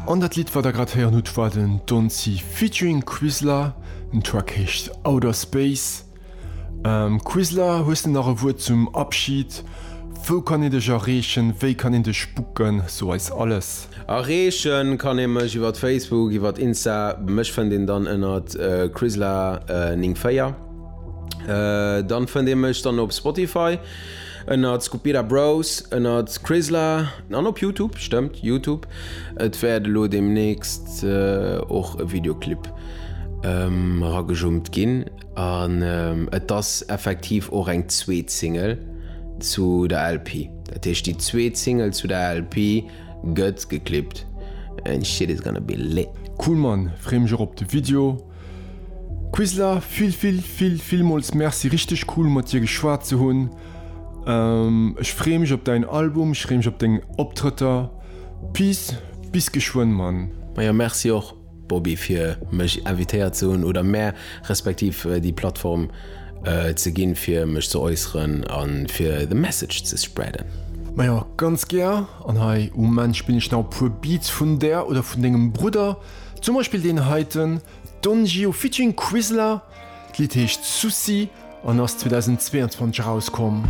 An dat Lidd wat der grad héieren hutt war den Donzi featuring Quizla, den Track heescht Outer Space. Quizla, hues de nach e Wuert zum Abschied? Wou kann een dech erreechen, wéi kann een dech booken, so eis alles. Erreechen kann ee mech iwwert Facebook, iwwert Insta, mech fënnt een dann ënnert Quizla 94. Dann fënnt ee mech dann op Spotify ënnert Scupira Bros, ënnert Quizla an op Youtube, stëmmt Youtube. Et wäert elo deemnächst och e Videoclip eragejummt ginn. An et ass effektiv och eng zweet Single zu der LP. Dat heescht déi zweet Single zu der LP gëtt geclippt and shit is gonna be lit. Cool Mann, free mech och op de Video. Quizla, vill vill vill villmools Merci, richteg cool mat dir geschwat ze hunn. Ech free mech op däin Album, ech free mech op deng Optrëtter. Peace, bis geschwënn Mann. Majo merci och. Bobby fir mech invitéiert ze hunn oder mär respektiv déi Plattform ze ginn fir mech ze äusseren a fir the message ze spreaden. Majo, ganz gär. An hei um Enn spillen ech nach e puer Beats vun där oder vun dengem Brudder. Zum Beispill deen heiten, Don Gio featuring Quizla. D'Lidd heescht Souci an ass 2022 erauskomm.